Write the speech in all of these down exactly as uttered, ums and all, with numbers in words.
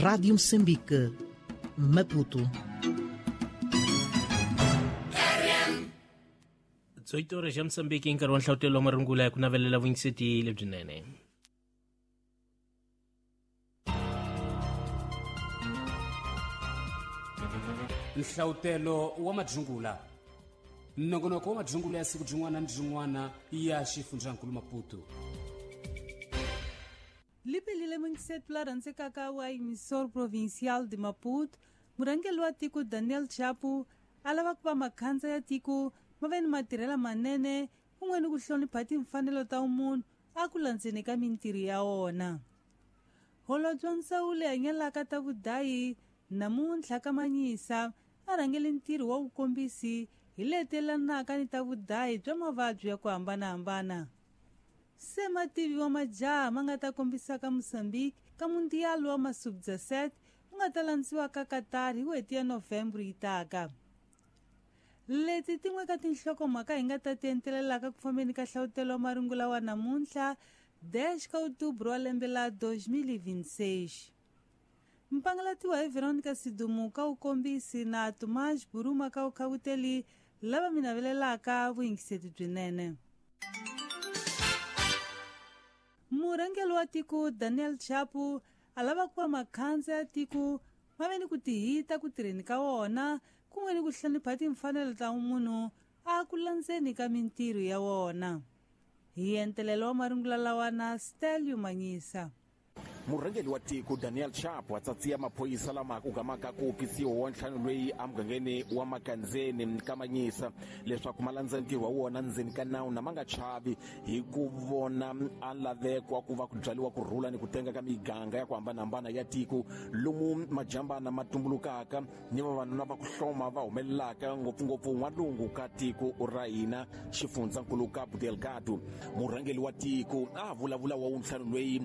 Rádio Moçambique, Maputo. dezoito horas ya Moçambique hi nkarhi wa nhlawutelo wa marungula ya ku navelela vuyingiseti lebyinene. Nhlawutelo wa madzungula nongonoko wa madzungula ya siku byin'wana ni byin'wana ya xifundzankulu Maputo. Lipelile muyingiseti la rhandzekaka wa emissor provincial de Maputo, murhangeri wa tiko Daniel Chapo a lava ku va makhandza ya tiko ma ve ni matirhelo manene kun'we ni ku hlonipha timfanelo ta munhu a ku landzeni ka mintirho ya wona. Holobye wa ndzawulo hanyelaka ta vudayi namuntlha ka Manyisa a rhangele ntirho wa vukombisi hi letelanaka ni ta vudayi bya mavabyi ya ku hambanahambana. Se mativi wa majaha ma nga ta kombisaka Mozambique ka mundial wa sub dezessete wu nga ta landziwa ka Qatar hi n'hweti ya Novembro yi taka. Leti tin'we ka tinhlokomhaka hi nga ta ti entelelaka ku fambeni ka nhlawutelo wa marungula wa namuntlha dez ka outubro wa lembe la dois mil e vinte e seis. Mpangalatiwa hi Veronica Sidumu ka wukombisi na Tomás Buruma ka wukhawuteli lava mi navelelaka vuyingiseti byinene. Murhangeri wa tiko Daniel Chapo a lava ku va makhandza ya tiko ma ve ni ku tihita ku tirheni ka wona kun'we ni ku hlonipha timfanelo ta munhu a ku landzeni ka mintirho ya wona. Hi entelelo wa marungula lawa na Stelio Manyisa. Murhangeri wa tiko Daniel Chapo a tsatsiya maphorisa lama ku gamaka ku pisiwa wa ntlhanu loyi emugangeni wa Makandzeni ka Manyisa leswaku ma landza ntirho wa wona ndzeni ka nawu na ma nga chavi hi ku vona a lavekwa ku va ku byariwa ku rhula ni ku tenga ka miganga ya ku hambanahambana ya tiko lomu majambana ma tumbulukaka ni vavanuna va ku hloma va humelelaka ngopfungopfu n'walungu ka tiko ra hina xifundzankulu Cabo Delgado. Murhangeri wa tiko a vulavula wa ntlhanu loyi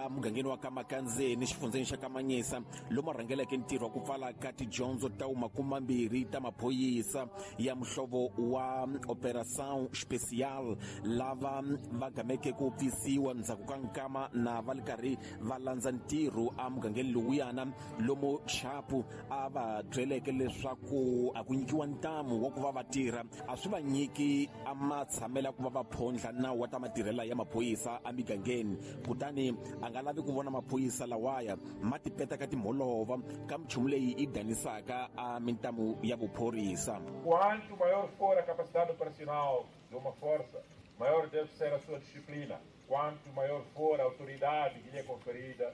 emugangeni wa ka Makandzeni xifundzeni xa Kamanyisa lomu rhangeleke ntirho wa ku pfala ka tidyondzo ta makumambirhi ta maphorisa ya muhlovo wa Operação Especial lava va gameke ku pfisiwa ndzhaku ka nkama na va ri karhi va landza ntirho emugangeni lowuyana lomu Chapo a va byeleke leswaku a ku nyikiwa ntamu wa ku va va tirha a swi va nyiki a matshamela ku va va phondla nawu wa ta matirhela ya maphorisa emigangeni kutani a nga lavi ku vona maphorisa lawaya ma tipeta ka timholova ka minchumu leyi yi danisaka a mintamu ya vuphorisa. Quanto maior for a capacidade operacional de uma força, maior deve ser a sua disciplina. Quanto maior for a autoridade que lhe é conferida,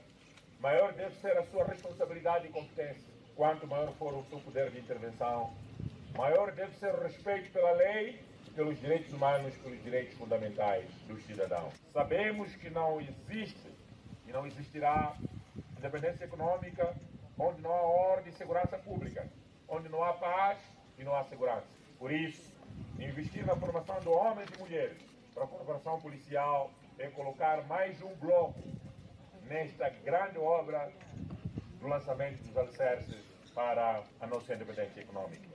maior deve ser a sua responsabilidade e competência. Quanto maior for o seu poder de intervenção, maior deve ser o respeito pela lei, pelos direitos humanos, pelos direitos fundamentais dos cidadãos. Sabemos que não existe e não existirá independência econômica onde não há ordem e segurança pública, onde não há paz e não há segurança. Por isso, investir na formação de homens e mulheres para a formação policial é colocar mais um bloco nesta grande obra do lançamento dos alicerces para a nossa independência econômica.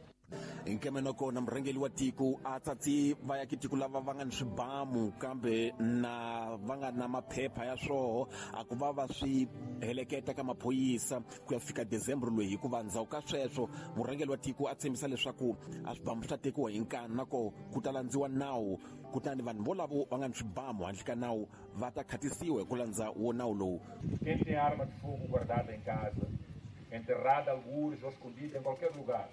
Nkemeno na murhangeri wa tiko a tsatsi va ya tiko lava va nga ni swibamu kambe na va nga na maphepha ya swoho a ku va va swi heleketa ka maphorisa ku ya fika December loyi hikuva ndzhaku ka sweswo murhangeri wa tiko a tshembisa leswaku a swibamu swi ta tekiwa hi nkani nako ku ta landziwa nawu kutani vanhu volavo va nga ni swibamu handle ka nawu va ta khatisiwa hi ku landza wo nawu lowu. Quem tem arma de fogo guardada em casa, enterrada algures ou escondida em qualquer lugar,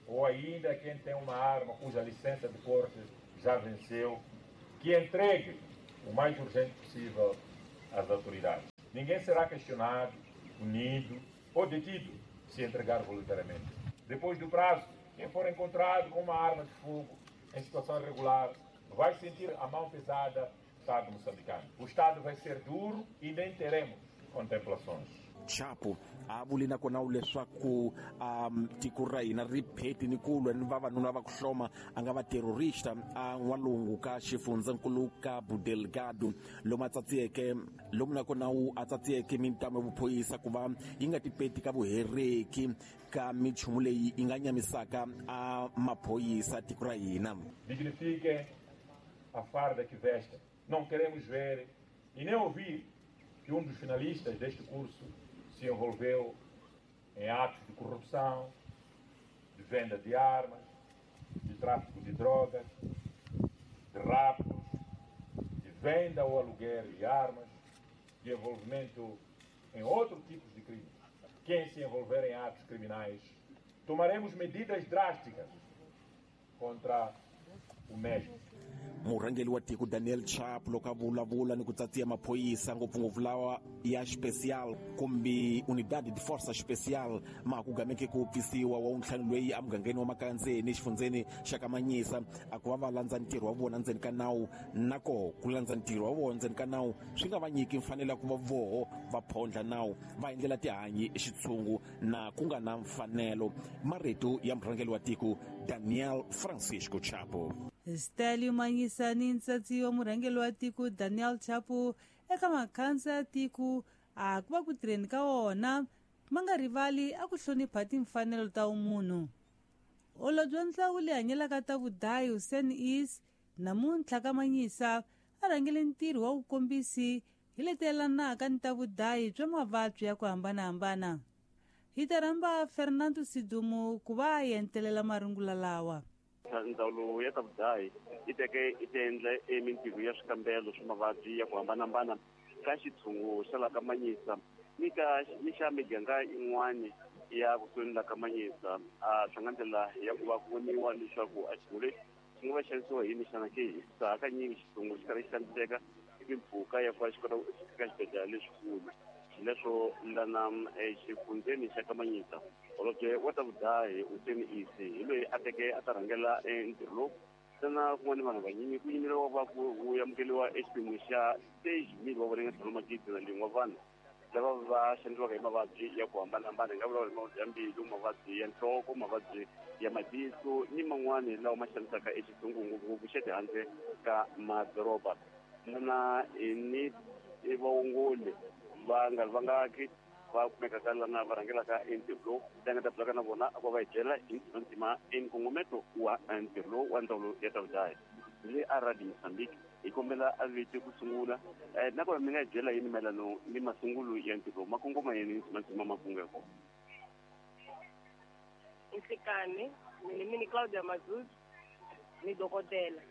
ou ainda quem tem uma arma cuja licença de porte já venceu, que entregue o mais urgente possível às autoridades. Ninguém será questionado, punido ou detido se entregar voluntariamente. Depois do prazo, quem for encontrado com uma arma de fogo em situação irregular vai sentir a mão pesada do Estado moçambicano. O Estado vai ser duro e nem teremos contemplações. Chapo a vuli na kona leswaku um tiko ra hina ri pheti ni ku lwa ni vavanuna va ku hloma a nga va terrorista a n'walungu ka xifundzankulu Cabo Delgado lomu a tsatsiyeke lomu na kona wu a tsatsiyeke mintamu ya vuphorisa ku va yi nga tipeti ka vuhereki ka minchumu leyi yi nga nyamisaka a maphorisa tiko ra hina. Dignifiquem a farda que vestem. Não queremos ver e nem ouvir que um dos finalistas deste curso se envolveu em atos de corrupção, de venda de armas, de tráfico de drogas, de raptos, de venda ou aluguer de armas, de envolvimento em outros tipos de crimes. Quem se envolver em atos criminais, tomaremos medidas drásticas contra o mesmo. Murhangeri wa tiko Daniel Chapo loko a vulavula ni ku tsatsiya maphorisa ngopfungopfu lawa ya special kumbe unidade de força especial ma ku gameke ku pfisiwa wa ntlhanu loyi emugangeni wa Makandzeni exifundzeni xa Kamanyisa a ku va va landza ntirho wa vona ndzeni ka nawu na koho ku landza ntirho wa vona ndzeni ka nawu swi nga va nyiki mfanelo ya ku va voho va phondla nawu va endlela tihanyi xitshungu na ku nga na mfanelo. Marito ya murhangeri wa tiko Daniel Francisco Chapo. Stalio Manyisa ni ntsatsi wa murhangeri wa tiko Daniel Chapo eka makhansa ya tiko a ku va ku tirheni ka wona ma nga rivali a ku hlonipha timfanelo ta umunhu. Holobye wa ndzawulo leyi hanyelaka ta vudayi Hussein Is namuntlha ka Manyisa a rhangele ntirho wa vukombisi hi leti yelanaka ni ta vudayi bya mavabyi ya ku hambanahambana. Hi ta rhamba Fernando Sidumo ku va a entelela marungula lawa. Ndzawulo ya ta vudayi yi teke yi ta endla emintirho ya swikambelo swa mavabyi ya ku hambanahambana ka xitshungu xa la ka Manyisa ni ka ni xa miganga yin'wani ya kusuhi la ka Manyisa. A swi nga ndlela ya ku va ku voniwa leswaku a xitshungu lexi xi nga va xanisiwa hi yini xana ke, hikuva hakanyingi xitshungu xi karhi xi xaniseka hi mimpfhuka ya ku va xi kota ku fika xibedhlele lexikulu. Xileswo lana exifundzeni xa Kamanyisa holobye wa ta vudayi Hussein Isi hi loyi a teke a ta rhangela ntirho lowu ntsena kun'wana vanhu vanyingi ku yimeriwa va ku ku amukeriwa exiphemu xa stage mil wa vona ntlhanu magidi na lin'we wa vanhu lava va xanisiwaka hi mavabyi ya ku hambanahambana. Hi nga vulavula hi mavabyi ya mbilu, mavabyi ya nhloko, mavabyi ya matihlo ni man'wani lawa ma xanisaka exitshungu ngopfungopfu xa tihandle ka madoroba. Lana ni vaongoli va nga vangaki va kumekaka lana va rhangelaka entirho lowu la nga ta bulaka na vona a ku va hi byela hi ntima enkongometo wa ntirho lowu wa ndzawulo ya ta vudayi. Le a Radio Mozambique hi kombela a vete ku sungula nakona mi nga hi byela yini mayelano ni masungulo ya ntirho lowu ma kongoma yini ntima makungu ya kona. Nhlikani mina mini Claudia Mazuz ni dokodela.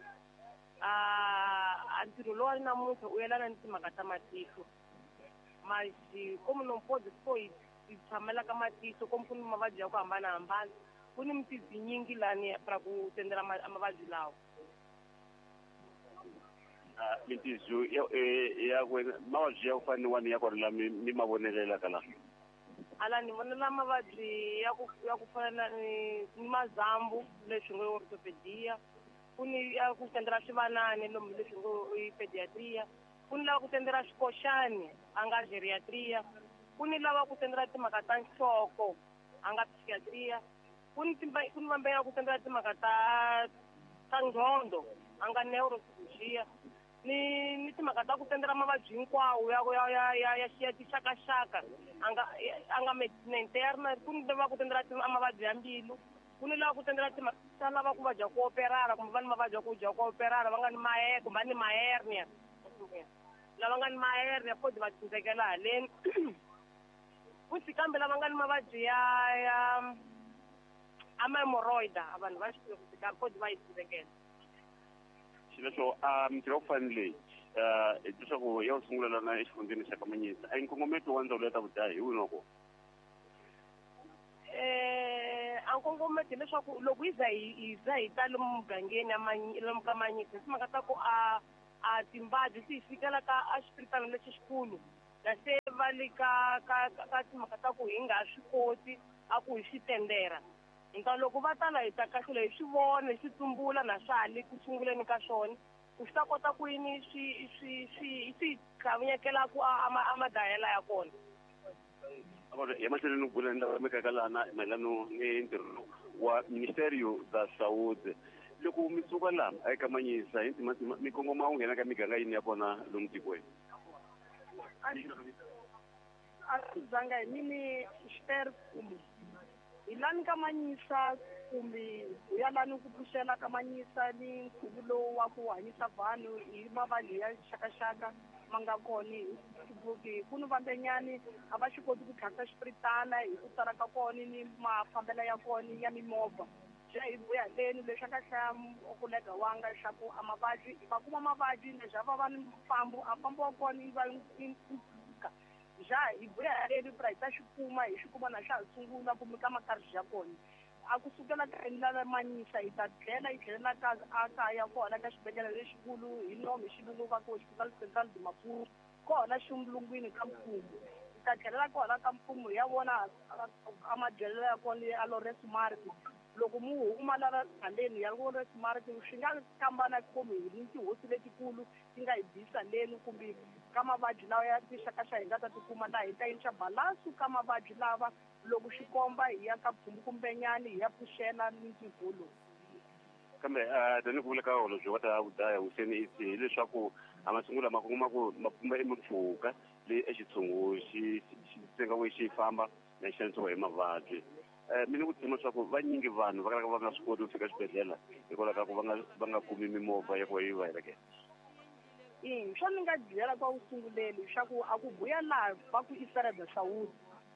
A ntirho lowu a namuntlha u yelana ni timhaka ta matihlo. Mas como não pode só ir tshamela ka matihlo como ku ni mavabyi ya ku hambanahambana ku ni mitizi nyingi lani para ku tendela mavabyi lawa. Mitizu ya ya mavabyi ya ku fana ni wani ya kona la mi ma vonelelaka la ala ni vonela mavabyi ya ku ya ku fana ni mazambu leswi ngo orthopedia, ku ni ya ku tendela swivanani lomu leswi ngo i pediatria, ku ni lava ku tendela swikoxani a nga geriatria, ku ni lava ku tendela timhaka ta nhloko a nga psychiatria, ku ni ku ni vambe ya ku tendela timhaka ta ta ngqondo a nga neuropsychologia ni ni timhaka ta ku tendela mavabyi hinkwawo ya ya ya ya ya ya tixakaxaka a nga a nga medicine interna, ku ni lava ku tendela mavabyi ya mbilu, ku ni lava ku tendela timhaka ta lava ku vabya ku operara kumbe va ni mavabyi ya ku dya ku operara va nga ni mahe kumbe va ni mahernia lava nga ni mahernia fodi va tsindzekela haleni. Futhi kambe lava nga ni mavabyi ya ya ama-hemorrhoida vanhu va xi fodi va yi tsindzekela. Xileswo a mintirho ya ku fana leyi leswaku ya ku sungula lana exifundzeni xa Kamanyisa a nkongometo wa ndzawulo ya ta vudayi hi wini wa kona? A nkongometo hileswaku loko hi za hi hi za hi ta lomu mugangeni lomu ka Manyisa hi timhaka ta ku a a timbabyi ti hi fikela ka a xipiritano lexi xikulu na se va le ka ka ka timhaka ta ku hi nga swi koti a ku hi swi tendera. Nta loko va tala hi ta kahlula hi swi vona hi swi tsumbula na swa ha le ku sunguleni ka swona ku swi ta kota ku yini swi swi swi swi tlhavunyekela ku a a madayela ya kona. Ya mahlweni ni ku bula ni lava mekaka lana mayelano ni ntirho wa Ministerio da Saúde. Loko mi suka laha eka Manyisa hi ntima mi kongoma u nghena ka miganga yini ya kona lomu tikweni? A swi zanga hi mini Ster kumbe hi lani ka Manyisa kumbe hi ya lani ku pfuxela ka Manyisa ni nkhuvo lowu wa ku hanyisa vanhu hi mavabyi ya xakaxaka ma nga kona hi ku ni van'wanyani a va swi koti ku tlhantlha xipiritana hi ku tala ka kona ni mafambelo ya kona ya mimovha. Xa hi vuya leni leswi a nga hlaya kolega wanga leswaku a mavabyi va kuma mavabyi leswi va va ni mfambo a mfambo wa kona yi va yi ja hi vuya leni pra hi ta xi kuma hi xi kuma na xa ha sungula kumbe ka makarhi ya kona. A ku sukela ka endla Manyisa hi ta tlhela yi tlhelela ka a kaya kona ka xibedhlele lexikulu hi nomu hi xilungu va ku Hospital Central de Maputo kona ximulungwini ka mfumo. Hi ta tlhelela kona ka mfumo hi ya vona a madyelelo ya kona ya Lawrence Mark. Loko mu huma la haleni ya Lawrence Mark swi nga kambana kumbe hi ni tihosi letikulu ti nga hi bisa leni kumbe ka mavabyi lawa ya tinxakaxaka hi nga ta tikuma laha hi ta yinxa balansu ka mavabyi lava loko xi komba hi ya ka pfumbu kumbenyani hi ya pfuxela mintikulu. Kambe tanihi ku vula ka holobye wa ta vudaya Hussein Issa hileswaku a masungulo ma kuma ku ma pfumba emimpfhuka leyi exitshungu xi xi tsengawe xi famba na xanisiwa hi mavabyi. Mina ku tshemba leswaku vanyingi vanhu va kalaka va nga swi koti ku fika xibedhlele hikwalaho ka ku va nga va nga kumi mimovha ya ku va yi va heleketa. I swo ni nga byela kwa ku sunguleni leswaku a ku vuya laha va ku i Feira da Saúde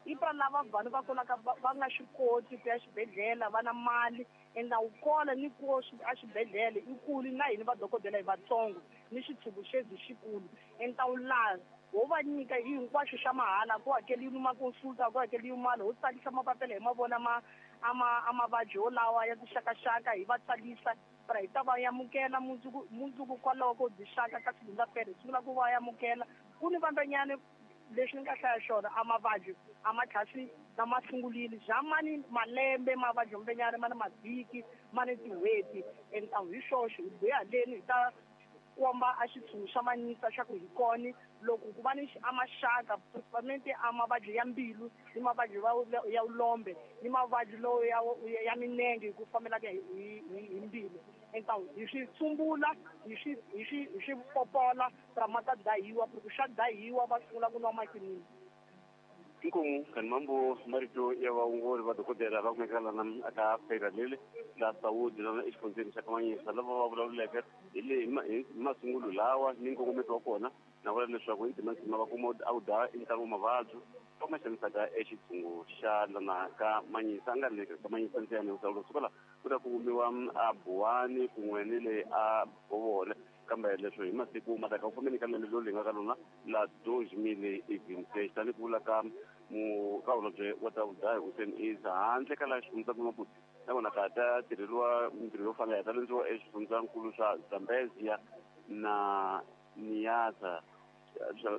i pra lava vanhu va kolaka va nga swi koti ku ya xibedhlele va na mali ende a wu kona ni ku a xibedhlele i kulu na hina vadokodela hi vatsongo ni xitshuku xezi xikulu ende wu laha wo va nyika hi hinkwaswo xa mahala ku hakeliwi ma-consulta ku hakeliwi mali ho tsalisa mapapila hi mavona ma a ma a mavabyi wolawa ya tinxakaxaka hi va tsalisa pra hi ta va amukela mundzuku mundzuku kwalaho ko byi xaka ka segunda-feira hi sungula ku va amukela ku ni van'wanyani leswi ni nga hlaya xona a mavabyi a ma tlhasi na ma sungulile bya mani malembe mavabyi mbenyana ma na mavhiki ma ni tin'hweti ende hi swoxo hi vuya haleni hi ta komba a xitshungu xa Manyisa xa ku hi kona loko ku va ni a maxaka principalmente a mavabyi ya mbilu ni mavabyi ya vulombe ni mavabyi lowu ya ya minenge hi ku fambelaka hi hi mbilu enta hi swi tsumbula hi swi hi swi hi swi popola ra ma ta dahiwa ku xa dahiwa va sungula ku nwa makinini. Inkomu kani mambo marito ya vaongori va dokodela va kumeka lana aka Feira lele la Saúde lana exifundzeni xa Kamanyisa lava va vulavuleke hi le hi masungulo lawa ni nkongometo wa kona na vula leswaku hi ntimantima va kuma a wu daya i ntlangu wa mavabyi va ma xanisaka exitshungu xa lana ka Manyisa a nga ri ka Manyisa ntsena hikuva suka la ku ta ku kumiwa a Buwani kun'we ni le a Bovole kambe leswo hi masiku ma ta ka ku fambeni ka lembe lowu nga ka lona la deux mille vingt-six tanihi ku vula ka mu ka holobye wa ta vudaya Hussein Issa handle ka laha xifundzankulu Maputo na kona ka ta tirheliwa mintirho yo fana ya ta lendziwa eswifundzankulu swa Zambezia na Niassa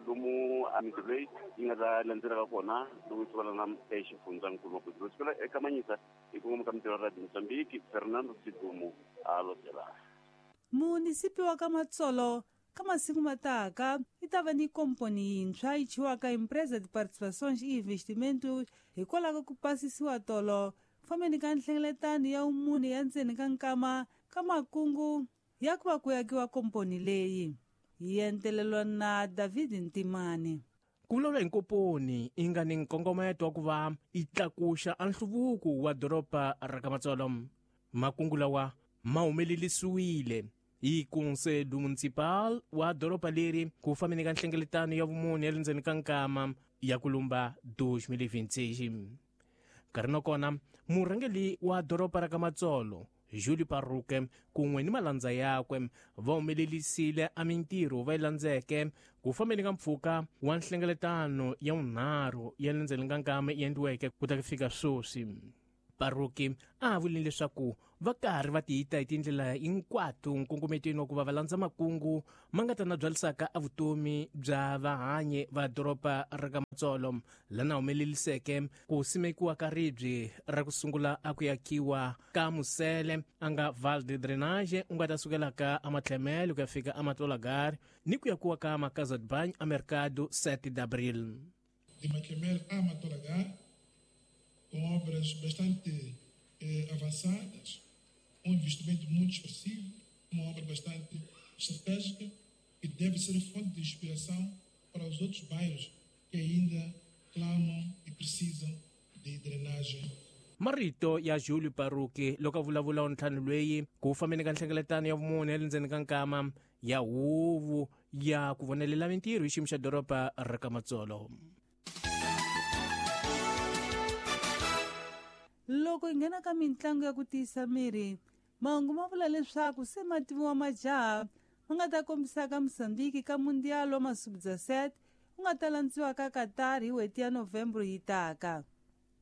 lomu a mintirho leyi yi nga ta landzelaka kona loko yi sukela na exifundzankulu Maputo loko sukela eka Manyisa hi kongoma ka mintirho ya Radio Mozambique Fernando Sidumo a lotela. Munisipi wa ka Matsolo ka masiku mataka yi ta va ni komponi yintshwa yi chiwaka Empresa de Participações e Investimentos hikwalaho ka ku pasisiwa tolo fambeni ka nhlengeletano ya vumune ya ndzeni ka nkama ka makungu ya ku va ku akiwa komponi leyi yi entelelwa na David Ntimani. Ku vulavula hi nkomponi yi nga ni nkongometo wa ku va yi tlakuxa a nhluvuko wa doroba ra ka Matsolo makungu lawa ma humelelisiwile hi Conselho Municipal wa doroba leri ku fambeni ka nhlengeletano ya vumune ya le ndzeni ka nkama ya ku lumba deux mille vingt-six. Nkarhi na kona murhangeri wa doroba ra ka Matsolo Júlio Parruque kun'we ni malandza yakwe va humelelisile a mintirho va yi landzeke ku fambeni ka mpfhuka wa nhlengeletano ya vunharhu ya le ndzeni ka nkama yi endliweke ku ta fika sweswi. Parruque a vulile leswaku va karhi va tiyita hi tindlela hinkwato nkongometweni wa ku va va landza makungu ma nga ta na byalisaka a vutomi bya vahanyi va doroba ra ka Matsolo lana humeleliseke ku simekiwa ka ribye ra ku sungula a ku yakiwa ka musele a nga val de drainage u nga ta sukelaka a Matlhemele ku ya fika a Matolagari ni ku yakiwa ka Macasa de Banho a Mercado sete de Abril. De Matlhemele a Matolagari com obras bastante eh, avançadas, um investimento muito expressivo, uma obra bastante estratégica que deve ser fonte de inspiração para os outros bairros que ainda clamam e precisam de drenagem. Marito ya Júlio Parruque loko a vulavula ntlhanu loyi ku fambeni ka nhlengeletano ya vumune ya le ndzeni ka nkama ya huvo ya ku vonelela mintirho hi xiyimo xa doroba ra ka Matsolo. Loko hi nghena ka mitlangu ya ku tiyisa miri, mahungu ma vula leswaku se mativiwa majaha ma nga ta kombisaka Mozambique ka Mundial wa Masubza set wu nga ta landziwa ka Qatar hi n'hweti ya November yi taka.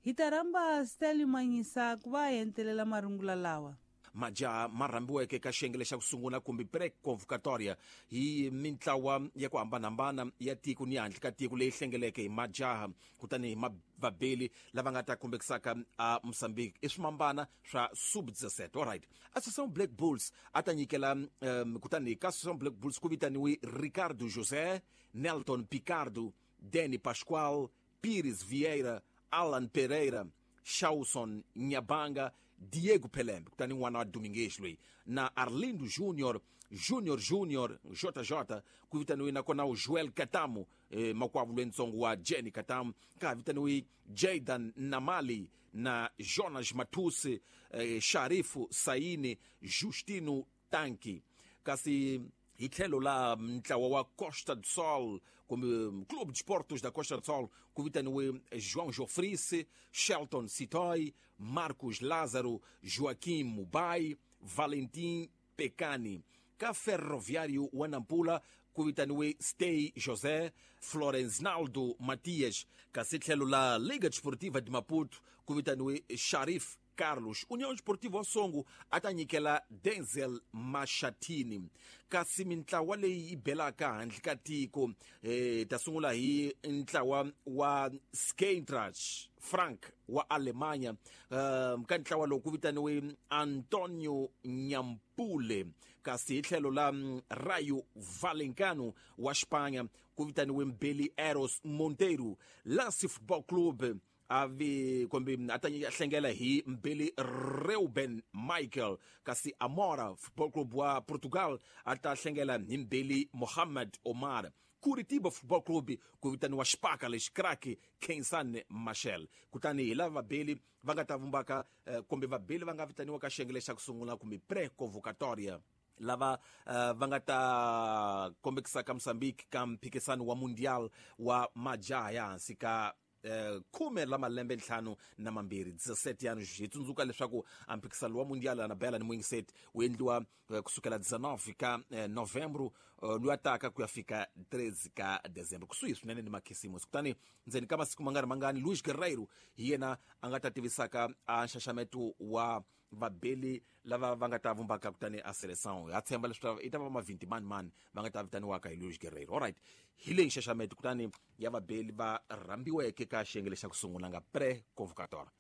Hi ta rhamba Stanley Manyisa ku va a entelela marungula lawa. Majaha ma rhambiweke ka xiyenge xa ku sungula kumbe pre-convocatoria hi mintlawa ya ku hambanahambana ya tiko ni handle ka tiko leyi hlengeleke hi majaha kutani hi vabeli lava nga ta kombekisaka a Mozambique i swimambana swa sub dezesete. Alright, Associação Black Bulls a ta nyikela um, kutani ka Associação Black Bulls ku vitaniwe Ricardo José, Nelton Picardo, Danny Pascoal, Pires Vieira, Alan Pereira, Shawson Nyabanga, Diego Pelembe, kutani n'wana wa Domingues loyi, na Arlindo Junior, Junior Junior, J J, ku vitaniwe nakona u Joel Katamu, eh, makwavo lwentsongo wa Jenny Katamu, ka vitaniwe Jaydan Namali na Jonas Matusi, eh, Sharifu Saini, Justino Tanki. Kasi hi tlhelo la ntlawa wa Costa do Sol, kumbe Clube de Esportes da Costa do Sol, ku vitaniwe João Jofrice, Shelton Sitoy, Marcos Lázaro, Joaquim Mubai, Valentim Pecani. Ka Ferroviário wa Nampula ku vitaniwe Stey José, Florenznaldo Matias. Kasi tlhelo la Liga Desportiva de Maputo ku vitaniwe Sharif Carlos. União Esportiva Songo a ta nyikela Denzel Mashatini. Kasi mintlawa leyi yi belaka handle ka tiko, eh, ta sungula hi ntlawa wa Skentrach Frank wa Alemanya. Um, ka ntlawa lowu ku vitaniwe Antonio Nyampule. Kasi hi tlhelo la Rayo Vallecano wa Espanha ku vitaniwe Mbeli Eros Monteiro. Lance Football Club avi kumbe a ta hlengela hi Mbeli Reuben Michael. Kasi Amora Football Club wa Portugal a ta hlengela hi Mbeli Mohamed Omar. Curitiba Football Club ku vitaniwa Xipaka lexi crack Kensan Machel. Kutani hi lava vabeli va nga ta vumbaka, kumbe vabeli va nga vitaniwa ka xiyenge xa ku sungula kumbe pre-convocatoria lava uh, va nga ta kombekisaka Mozambique ka mphikisano wa Mundial wa majaha ya hansi ka Uh, khume la malembe ntlhanu na mambirhi dezesete anos. Hi tsundzuka leswaku a mphikisano wa Mundial Anabela ni Mwingiset wu endliwa uh, kusukela dezenove ka uh, novembro uh, loyi a taka ku ya fika treze ka dezembro, kusuhi swinene ni makhisimusi. Kutani ndzeni ka masiku mangani mangani Luis Guerreiro hi yena a nga ta tivisaka a nxaxameto wa vabeli lava va nga ta vumbaka kutani a seleção. Ha tshemba leswaku i ta va ma vinte mani mani va nga ta vitaniwaka hi Luis Guerreiro. Alright, hi leyi nxaxameto kutani ya vabeli va rhambiweke ka xiyenge xa ku sungula nga pre-convocatória.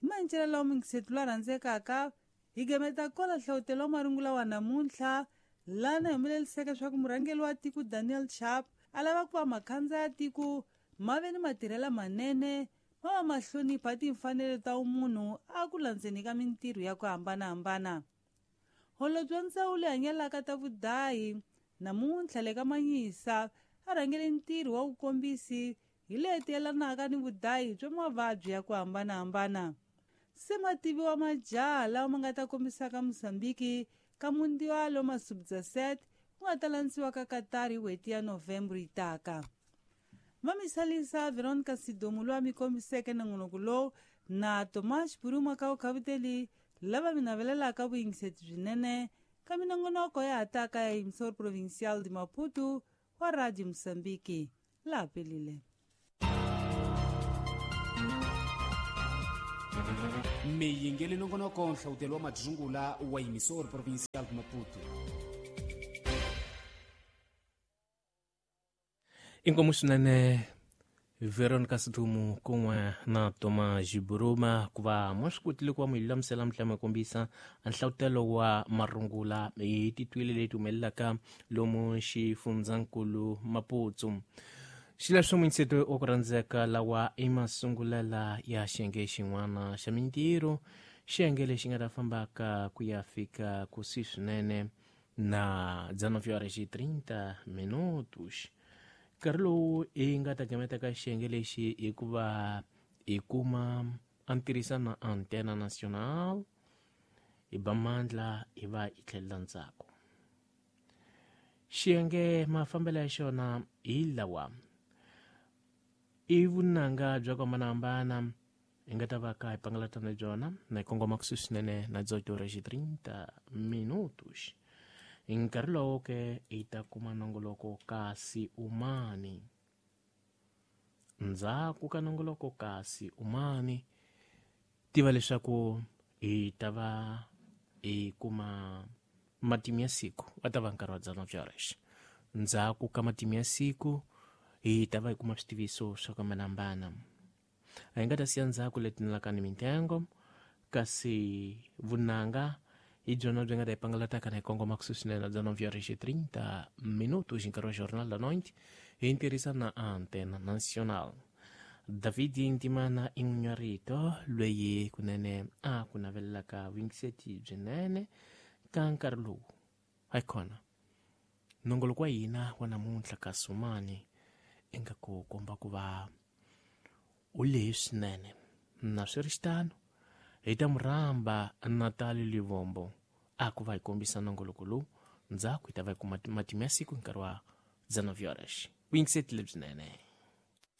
Hi mancela lawa mingisetu la rhandzekaka, hi gameta kola hlohletelo wa marungula wa namuntlha lana humeleliseke swa ku murhangeri wa tiko Daniel Chapo a lava ku va makhandza ya tiko ma ve ni matirhelo manene, ma va ma hlonipha timfanelo ta vumunhu a ku landzeni ka mintirho ya ku hambanahambana. Holobye wa ndzawulo leyi hanyelaka ta vudahi namuntlha le ka Manyisa a rhangele ntirho wa vukombisi hi leti yelanaka ni vudahi bya mavabyi ya ku hambanahambana. Se mativiwa majaha lawa ma nga ta kombisaka Mozambique ka Mundial wa Masubza set ku nga ta landziwa ka Qatar hi n'hweti ya November yi taka. Mamisalisa Veronica Sidomu loyi a mi kombiseke nongonoko lowu na Tomas Buruma ka Ukhavuteli lava mi navelelaka vuyingiseti byinene ka minongonoko ya ha taka ya Emissor Provincial de Maputo wa Radio Mozambique. Laha pelile. Miyingeli nongonoko nhlawutelo wa madzungula wa Emissor Provincial de Maputo. Inkomu swinene Veronica Sidumu kun'we na Tomas Buruma ku va ma swi kotile ku va mi lulamisela mi tlhela mi kombisa nhlawutelo wa marungula hi titwile leti humelelaka lomu xifundzankulu Maputo. Xileswo munyiseto wa ku rhandzeka lawa i masungulela ya xiyenge xin'wana xa mintirho, xiyenge lexi nga ta fambaka ku ya fika kusuhi swinene na dezenove horas e trinta minutos. Nkarhi lowu hi nga ta gameta ka xiyenge lexi hikuva hi kuma a ntirhisa na Antena Nacional hi ba mandla hi va hi tlhelela ndzhaku. Xiyenge mafambelo ya xona hi lawa i vunanga bya ku hambanahambana hi nga ta va ka hi pangalatana byona na hi kongoma kusuhi swinene na dezoito horas e trinta minutos. Hi nkarhi lowo ke hi ta kuma nongoloko kasi umani. Ndzhaku ka nongoloko kasi umani tiva leswaku hi ta va hi kuma matimu ya siku va ta va nkarhi wa dezenove horas. Ndzhaku ka matimu ya siku hi ta va hi kuma switiviso swa ku hambanahambana. A hi nga ta siya ndzhaku leti nalaka ni mintengo kasi vunanga hi byona byi nga ta hi pangalataka na hi kongoma kusuhi swinene na dezenove horas e trinta minutos hi nkarhi wa Jornal da Noite hi ntirhisa na Antena Nacional. David Ntimana i n'win'warito loyi kunene a ku navelelaka vuyingiseti byinene ka nkarhi lowu. Hayikhona nongoloko wa hina wa namuntlha ka Sumani ingaku komba ku va u lehe swinene na swi ri xitano hi ta murhamba Natali Livombo a ku va hi kombisa nongoloko lowu ndzhaku hi ta va hi kuma matimu ya siku hi nkarhi wa dezenove horas. Vuyingiseti lebyinene.